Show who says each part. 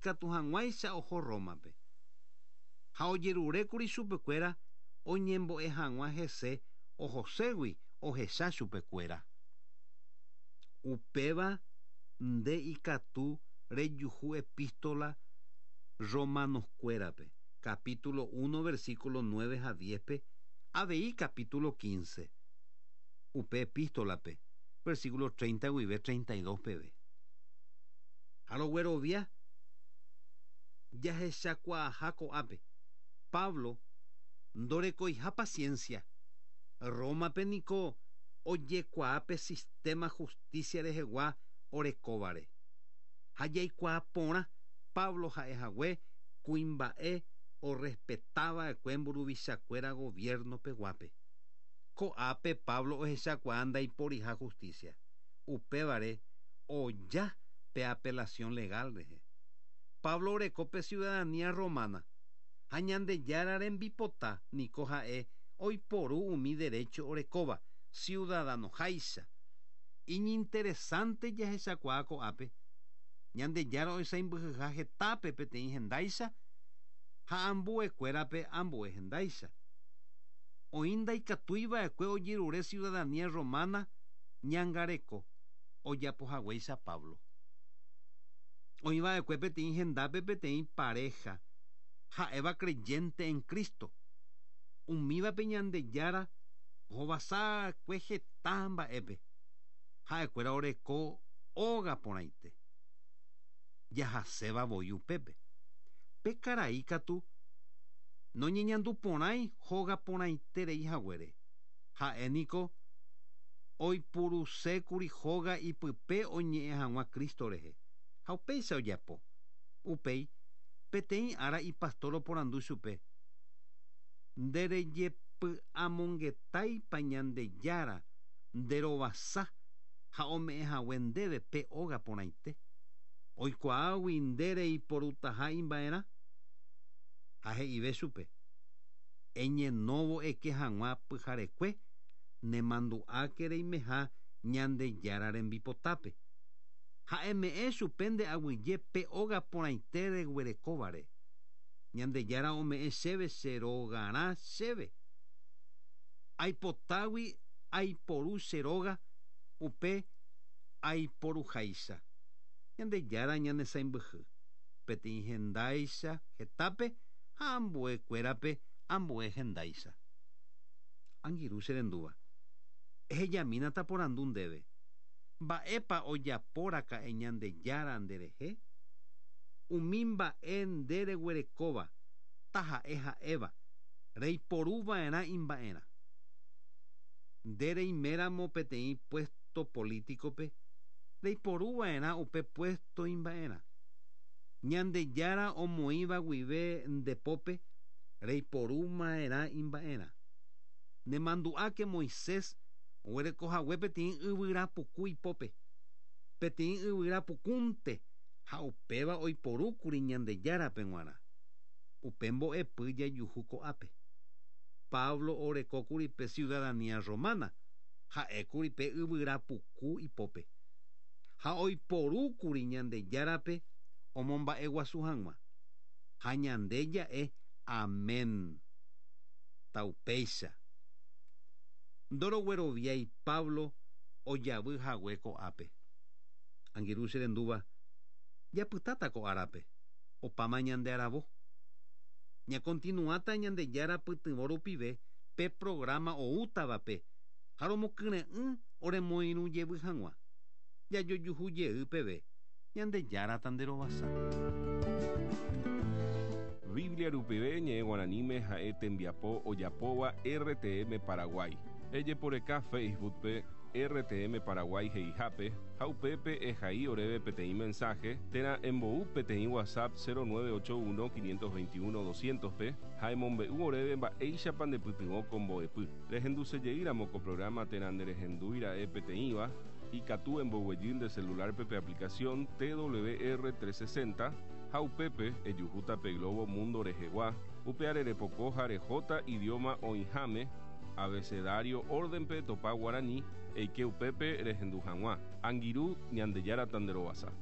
Speaker 1: Ikatu hag̃uáicha oho Rómape. Ha ojerurékuri chupekuéra oñembo'e hag̃ua hese ohoségui ohecha chupekuéra. Upéva nde ikatu rejuhu Epístola Romanokuérape, capítulo uno versículo nueve ha diez-pe, avei capítulo quince upe epístolape, versículo treinta guive treinta y dos peve. Ha roguerovia jahechakuaaha ko'ápe Pablo ndorekoiha paciencia. Rómape niko ojekuaa pe sistema justicia rehegua orekóvare. Ha jaikuaa porã Pablo ha'ehague kuimba'e orrespetava'ekue mburuvichakuéra gobierno peguápe. Ko'ápe Pablo ohechakuaa ndaiporiha justicia. Upévare oja pe apelación legal rehe. Pablo oreko pe ciudadanía romana, ha Ñandejára rembipota niko ha'e oiporu umi derecho orekóva ciudadanoháicha. Iñinteresante jahechakuaa ko'ápe, Ñandejára oisãimbyhyha hetápe peteĩ hendáicha ha ambuekuérape ambue hendáicha. Oĩ ndaikatúi va'ekue ojerure ciudadanía romana ñangareko ojapohaguéicha Pablo. Oĩ va'ekue peteĩ hendápe peteĩ paréha ha'éva creyente en Cristo. Umívape Ñandejára ohovasa'ekue heta mba'épe. Ha'ekuéra oreko óga porãite. Jahaséva voi upépe. Pe karai katu noñeñanduporãi hóga porãiterei haguére. Ha'e niko oipurusékuri hóga ipype oñe'ẽ hag̃ua Cristo rehe, ha upéicha ojapo. Upéi, peteĩ ára ipastór oporandu chupe, Nde rejepy'amongetáipa Ñandejára nde rovasa ha ome'ẽ hague ndéve pe óga porãite, oikuaágui nde reiporutaha imba'erã? Ha he'ive chupe, Eñenóvo eke hag̃ua pyharekue, nemandu'áke reimeha Ñandejára rembipotápe. Ha eme'ẽ chupe nde aguyje pe óga porãite reguerekóvare. Ñandejára ome'ẽ chéve che rogarã chéve. Aipotágui aiporu che róga upe aiporuháicha. Ñandejára ñanesãimbyhy, peteĩ hendáicha hetápe ha ambue kuérape ambue hendáicha. Angirũ che rendúva, ehejamína taporandu ndéve, Mba'épa ojapo raka'e Ñandejára nde rehe? Umi mba'e nde reguerekóva, taha'e ha'éva, reiporu va'erã imba'erã. Nde reiméramo peteĩ puesto político-pe, reiporu va'erã upe puesto imba'erã. Ñandejára omoĩva guive nde pópe reiporuma'erã imba'erã. Nemandu'áke Moisés oguereko hague peteĩ yvyra puku ipópe, peteĩ yvyra pukúnte ha upéva oiporúkuri Ñandejárape g̃uarã. Upe mbo'epy jajuhu ko'ápe. Pablo orekókuri pe ciudadanía romana, ha'ékuri pe yvyra puku ipópe. Ha oiporúkuri Ñandejárape omomba'eguasu hag̃ua. Ha ñande ja'e Amén. Taupéicha. Ndorogueroviái Pablo ojavy hague ko'ápe. Angirũ che rendúva, japytáta ko árape, opáma ñande aravo. Ñakontinuáta Ñandejára pytyvõ rupive pe programa oútavape ha romokyre'ỹ oremoirũ jevy hag̃ua. Jajojuhu jey peve, Ñandejára tanderovasa.
Speaker 2: Biblia rupive ñe'ẽ guaraníme ha'e tembiapo ojapóva RTM Paraguay. Ejeporeka Facebook-pe RTM Paraguay he'ihápe ha upépe ehai oréve peteĩ mensaje térã embou peteĩ WhatsApp 0981 521 200-pe ha emombe'u oréve mba'éichapa ndepytyvõ ko mbo'epy. Rehendusejeýramo ko programa térã nderehendúira'e peteĩva, ikatu emboguejy nde celular-pe pe aplicación TWR 360 ha upépe ejuhúta pe globo mundo rehegua, upeare repoko ha rehóta idioma oĩháme, abecedario orden-pe etopa guarani, eike upépe rehendu hag̃ua. Angirũ, Ñandejára tanderovasa.